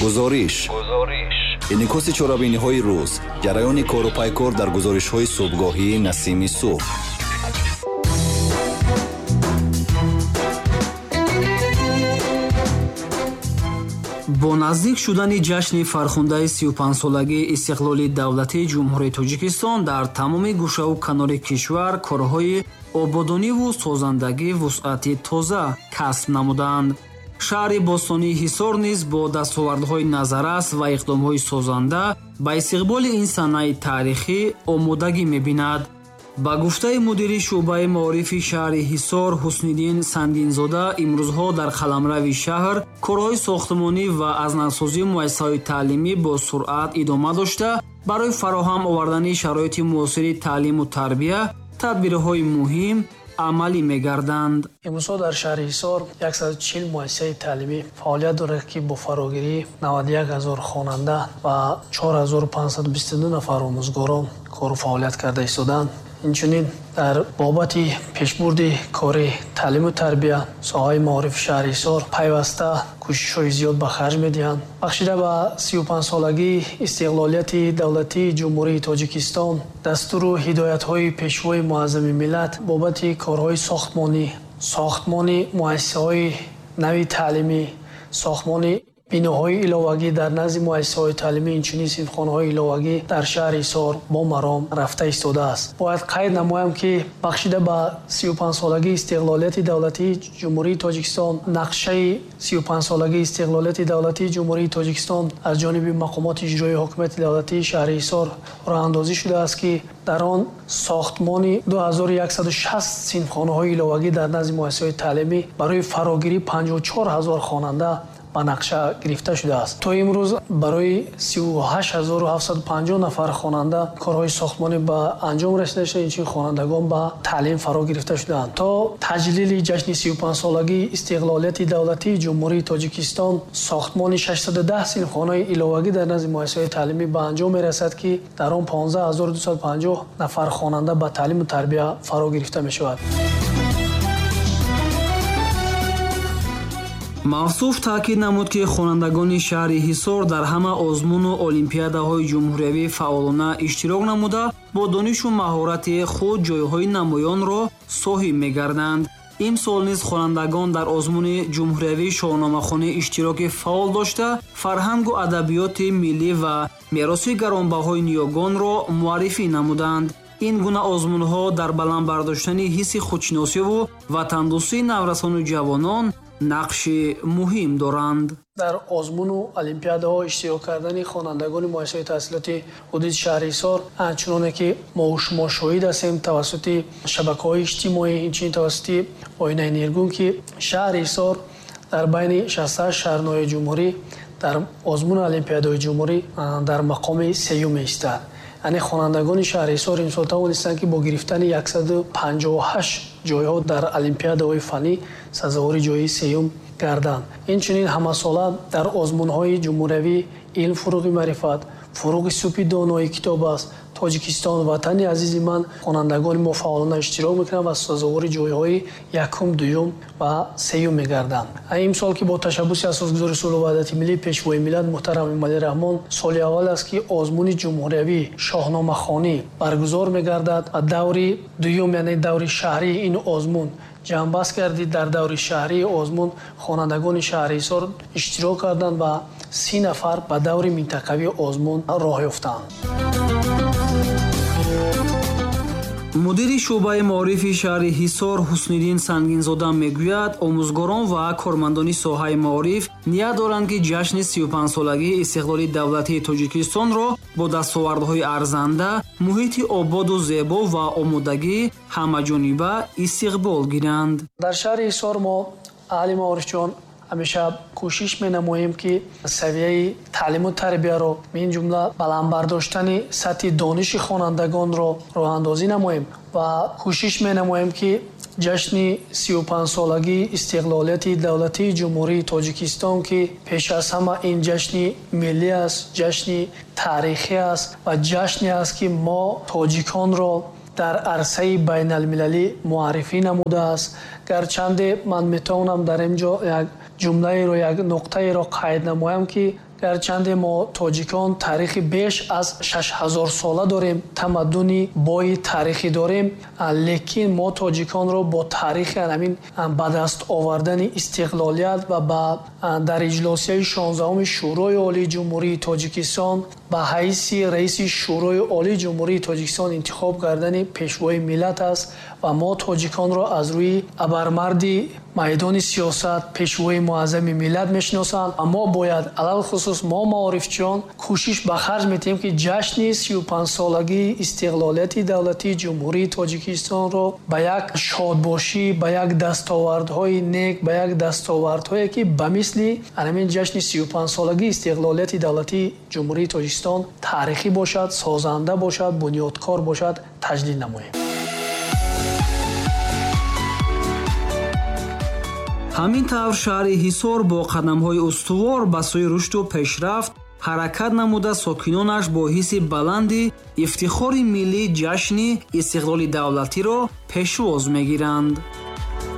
Гузориш. Инъикоси чорабиниҳои рӯз, ҷараёни кору пайкор дар гузоришҳои субҳгоҳии Насими субҳ. Бо наздик шудани ҷашни фархундаи 35-солагии истиқлоли давлатии Ҷумҳурии Тоҷикистон дар тамоми гӯшаву канори кишвар корҳои ободониву созандагӣ вусъати тоза касб намуданд. Шаҳри бостонии Ҳисор низ бо дастовардҳои назаррас ва иқдомҳои созанда ба истиқболи ин санаи таърихӣ омодагӣ мебинад. Ба гуфтаи мудири шӯъбаи маорифи шаҳри Ҳисор Ҳусниддин Сангинзода, имрӯзҳо дар қаламрави шаҳр корҳои сохтмонӣ ва аз навсозии муассисаҳои таълимӣ бо суръат идома дошта, барои фароҳам овардани шароити муосири таълиму тарбия тадбирҳои муҳим амалӣ мегарданд. Имрӯзҳо дар шаҳри Ҳисор 140 муассисаи таълимӣ фаъолият дорад, ки бо фарогирии 91 ҳазор хонанда ва 4522 нафар омӯзгорон кору фаъолият карда истодаанд. Инчунин дар бобати пешбурди кори таълиму тарбия соҳаи маорифи шаҳри Ҳисор пайваста кӯшишҳои зиёд ба харҷ медиҳанд. Бахшида ба 35-солагии истиқлолияти давлатии Ҷумҳурии Тоҷикистон, дастуру ҳидоятҳои Пешвои муаззами миллат бобати корҳои сохтмонӣ, сохтмони муассисаҳои нави таълимӣ, сохтмони биноҳои иловагӣ дар назди муассисаҳои таълимӣ, инчунин синфхонаҳои иловагӣ дар шаҳри Ҳисор бо маром рафта истодааст. Бояд қайд намоям, ки бахшида ба 35-солагии истиқлолияти давлатии Ҷумҳурии Тоҷикистон, нақшаи 35-солагии истиқлолияти давлатии Ҷумҳурии Тоҷикистон аз ҷониби мақомоти иҷроии ҳокимияти давлатии шаҳри Ҳисор роҳандозӣ шудааст, ки дар он сохтмони 2160 синфхонаҳои иловагӣ дар назди муассисаҳои таълимӣ барои фарогирии 54 ҳазор хонанда ба нақша гирифта шудааст. То имрӯз барои 38750 нафар хонанда корҳои сохтмонӣ ба анҷом расида шуда, инчунин хонандагон ба таълим фаро гирифта шудаанд. То таҷлили ҷашни 35-солагии истиқлолияти давлатии Ҷумҳурии Тоҷикистон сохтмони 610 синфхонаи иловагӣ дар назди муассисаҳои таълимӣ ба анҷом мерасад, ки дар он 15250 нафар хонанда ба таълиму тарбия фаро гирифта мешавад. Мавсуф таъкид намуд, ки хонандагони шаҳри Ҳисор дар ҳама озмуну олимпиадаҳои ҷумҳуриявӣ фаъолона иштирок намуда, бо донишу маҳорати худ ҷойҳои намоёнро соҳиб мегарданд. Имсол низ хонандагон дар озмуни ҷумҳуриявии шоҳномахонӣ иштироки фаъол дошта, фарҳангу адабиёти миллӣ ва мероси гаронбаҳои ниёгонро муаррифӣ намуданд. Ин гуна озмунҳо дар баланд бардоштани ҳисси худшиносиву ватандӯстии наврасону ҷавонон нақши муҳим доранд. Дар озмуну олимпиадаҳо иштирок кардани хонандагони муассисаҳои таҳсилоти ҳудуди шаҳри Ҳисор, чуноне ки мо шумо шоҳид ҳастем тавассути шабакаҳои иҷтимоӣ, инчунин тавассути оинаи нергун, ки шаҳри Ҳисор дар байни 68 шаҳрнои ҷумҳурӣ дар озмуну олимпиадаҳои ҷумҳурӣ дар мақоми сеюм меистад. Яъне хонандагони шаҳри Ҳисор имсол тавонистанд, ки бо гирифтани 158 ҷойҳо дар олимпиадаҳои фаннӣ сазовори ҷойи сеюм гарданд. Инчунин ҳамасола дар озмунҳои ҷумҳуриявӣ илм фуруғи маърифат, фуруғи субҳи донои китоб аст, Тоҷикистон ватани азизи ман хонандагони мо фаъолона иштирок мекунанд ва сазовори ҷойҳои якум, дуюм ва сеюм мегарданд. Имсол ки бо ташаббуси асосгузори сулҳу ваҳдати миллӣ, Пешвои миллат муҳтарам Эмомалӣ Раҳмон соли аввал аст, ки озмуни ҷумҳуриявӣ шоҳномахонӣ баргузор мегардад ва даври дуюм, яъне даври шаҳрии ин озмун ҷамъбаст гардид. Дар даври шаҳрии озмун хонандагони шаҳри Ҳисор иштирок карданд ва 30 нафар ба даври минтақавии озмун роҳ ёфтанд. Мудири шӯъбаи маорифи шаҳри Ҳисор Ҳусниддин Сангинзода мегӯяд, омӯзгорон ва кормандони соҳаи маориф ният доранд, ки ҷашни 35-солагии истиқлоли давлатии Тоҷикистонро бо дастовардҳои арзанда, муҳити ободу зебо ва омодагӣ ҳамаҷониба истиқбол гиранд. Дар шаҳри Ҳисор мо аҳли маорифчиён ҳамеша кӯшиш менамоем, ки савияи таълиму тарбияро, мин ҷумла баланд бардоштани сатҳи дониши хонандагонро роҳандозӣ намоем ва кӯшиш менамоем, ки ҷашни 35-солагии истиқлолияти давлатии Ҷумҳурии Тоҷикистон, ки пеш аз ҳама ин ҷашни миллӣ аст, ҷашни таърихӣ аст ва ҷашне аст, ки мо тоҷиконро дар арсаи байналмилалӣ муаррифӣ намудааст. Гарчанде ман метавонам дар ин ҷо як ҷумлаеро, як нуқтаеро қайд намоям, ки Гарчанде мо тоҷикон таърихи беш аз 6000 сола дорем, тамаддуни бои таърихӣ дорем, лекин мо тоҷиконро бо таърихи ҳамин ба даст овардани истиқлолият ва дар иҷлосияи 16-уми Шӯрои Олии Ҷумҳурии Тоҷикистон ба ҳайси раиси Шӯрои Олии Ҷумҳурии Тоҷикистон интихоб кардани пешвои миллат аст ва мо тоҷиконро аз рӯи абармарди майдони сиёсат, пешвои муаззами миллат мешиносанд. Ва мо бояд, алалхусус мо маорифчиён, кӯшиш ба харҷ метиҳем, ки ҷашни 35-солагии истиқлолияти давлатии Ҷумҳурии Тоҷикистонро ба як шодбошӣ, ба як дастовардҳои нек, ба як дастовардҳое, ки ба мисли ҳамин ҷашни 35-солагии истиқлолияти давлатии Ҷумҳурии Тоҷикистон таърихӣ бошад, созанда бошад, бунёдкор бошад, таҷлил намоем. Ҳамин тавр шаҳри Ҳисор бо қадамҳои устувор ба сӯи рушду пешрафт ҳаракат намуда, сокинонаш бо ҳисси баланди ифтихори миллӣ ҷашни истиқлоли давлатиро пешвоз мегиранд.